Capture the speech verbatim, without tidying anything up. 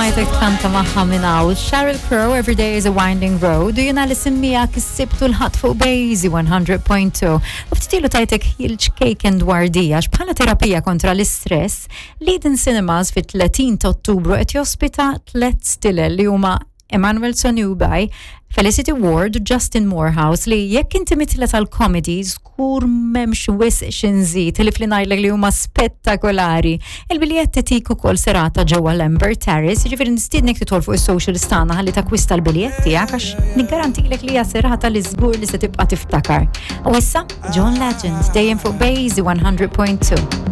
Smajtek tkanta magħha minn hawn. Sheryl Crow, "Every Day Is a Winding Road", u jiena li semmijak is-Sibt u l-Ħadd fuq Bejzi one hundred point two. U ftit ilu tajtek ħjiel ċkejken dwar di, għax bħala terapija kontra l-istress, l-Eden Cinemas fit-tletin ta' Ottubru qed jospita tlet stilel li huma Emmanuel Sonubi, Felicity Ward u Justin Morehouse, li jekk inti mitla tal-comedy żgur m'hemmx wisq x'inżid li fli ngħidlek li huma spettakolari. Il-biljetti tik ukoll serata ġewwa l-Amber Terrace, jiġifieri nistiednek tidħol fuq is-social tagħna ħalli takwista l-biljetti tiegħek, għax niggarantilek li hija serata li żgur li se tibqa' tiftakar. U issa John Legend, dejjem fuq Bejzi one hundred point two.